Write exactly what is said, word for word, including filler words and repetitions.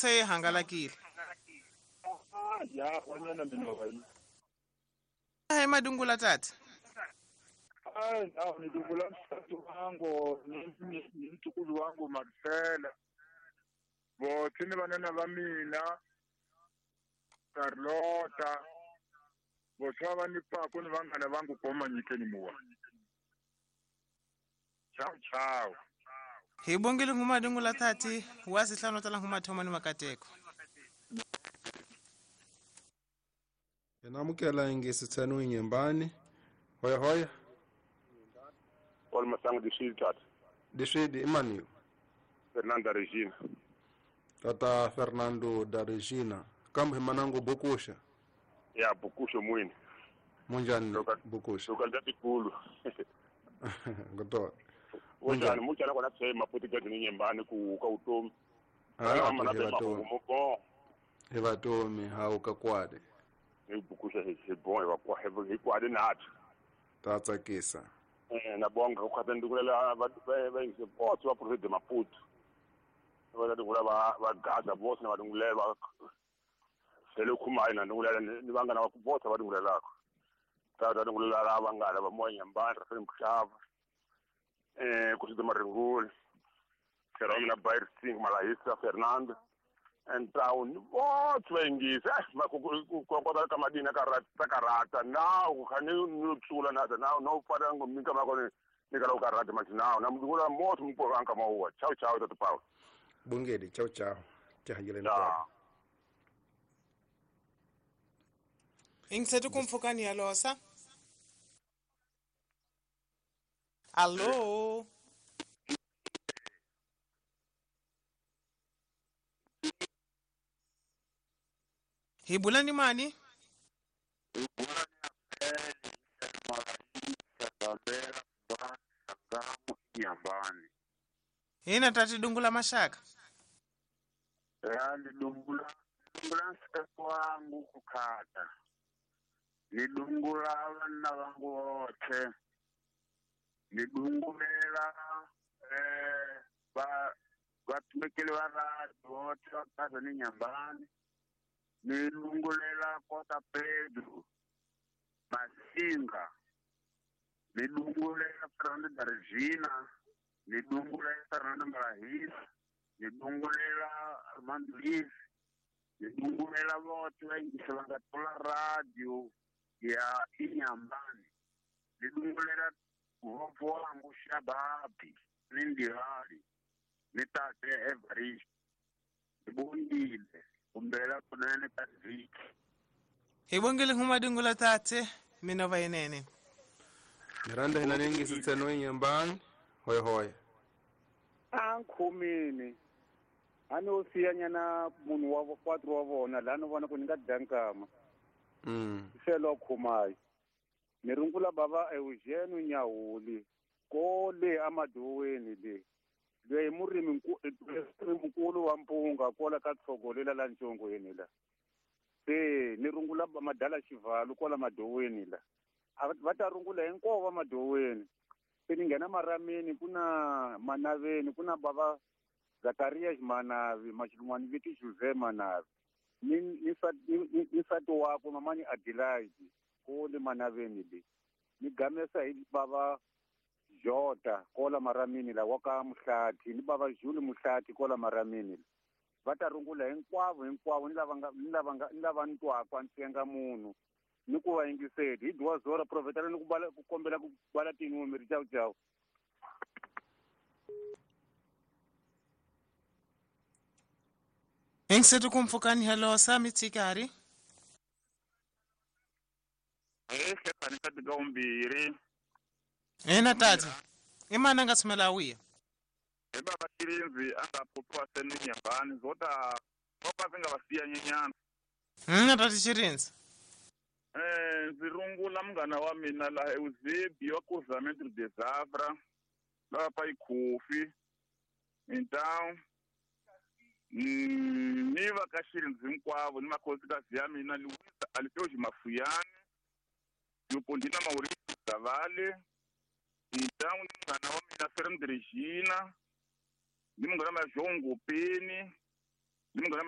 Se yi hangalakile. Ya wanyana mina va. Hi madungula tata. Ai, awu ni dungula msati wangu ni ni mtukulu wangu Marcela. Vothe ni vanana va mina Carlota. Vothe va ni paku ni vanghana vangu koma nyikeni muwa. Ciao ciao. Hi bongile nguma dungula tati wa sihlanu tala nguma thoma ni makateko. Namukela ingisi tsenu inyembani. Hoya hoya. Paul Masango dishidi tata. Dishidi imani. Fernando da Regina. Tata Fernando da Regina. Kambe manango bukusha. Ya bukusha mwini. Munjani bukusha. Lokal tikulu. Ngoto. Munjani munjani kona tsema maputi ka nyembani ku ka utomi. Ah, mo Evatomi hauka kwade. Ni bukusha he bon eva kwa he kwade nathi. Tatsakisa. Eh na bonga ku khata ndikulela va va ingise botse va province de Maputo. Va ndikulela va va Gaza botse na va ndikulela va sele khumai na ndikulela ni vangana va botse va ndikulela. Ta ta ndikulela la vangana va moya mbandra fela mhlava. Eh ku sida maringul. Keromina na Bayer Singh Malahisa Fernando and town botse va ingise ma ku ku ku ka madina ka rata ka rata now ku khani no tsula na now no fana ngomika ma kone ni ka ka rata ma now na mdula motho mpo anka mawa ciao ciao tata Paul bungedi ciao ciao tihangele na Ingsetu kumfukani yalosa. Allo. Hibulani mani? Ina tati dungula mashaka. Ya ndungula dungula nsikazi wangu kukhata. Nidungula vana vangu vothe. Nidungulela eh va vatumekeli va radio vothe va kaza ni nyambani. Nidungulela Kota Pedro Masinga. Nidungulela Fernando da Regina. Nidungulela Fernando Malahisa. Nidungulela Armando Liz. Nidungulela vothe va yingisa va nga tola radio ya Inyambani. Nidungulela vopfu wangu Shababi ni Ndihali ni tate Evarist. Nibongile kumbela kunene ka vhiki. Hi bongile huma dungula tate mina va yenene. Miranda hina ningisi tsenu inyembani. Hoya hoya. Ankhumini. Ano siya nyana munhu wa quatro wa vona la no vona ku ni nga dankama. Mm. Selo khumai. Ni rungula baba Eugene Nyahuli kole amadoweni le. Loyi murimi nkulu wa mpunga kola ka tshogolela la ntshongweni la. Se ni rungula madala xivalo kola madoweni la. Va ta rungula hinkwavo va madoweni. Se ni nghena marameni kuna manaveni kuna baba Zakaria Manavi machilungwani viti Jose Manavi. Ni ni ni nsati wakwe mamani Adelaide kole manaveni le. Ni gamesa hi baba Jota kola maramini la waka Muhlati ni baba Juli Muhlati kola maramini la. Va ta rungula hinkwavo hinkwavo ni lava nga ni lava nga ni lava ntwaka a ntsenga munhu ni ku va yingiseli hi dwa zora profetela ni ku bala ku kombela ku bala tinumeri ciao ciao. Ingsetu kumfukani halosa mitsikari. Eh hlekani ka tigombiri. Ena tata. Imana nga tshumela wiya. Hi baba Chirinzi a nga phuphiwa seni nyambani zota voka swi nga va siya nyenyana. Ena tata Chirinzi. Eh ndzi rungula munghana wa mina laha Eusebio wa Cruzamento de Zavra laha pa Ikhofi in town. Mm, ni va ka Chirinzi hinkwavo ni makhosikazi ya mina Luisa Alfeo Mafuyane Leopoldina Mauricio Zavale então ni munghana wa mina Fernando Regina ni munghana wa João Ngopeni ni munghana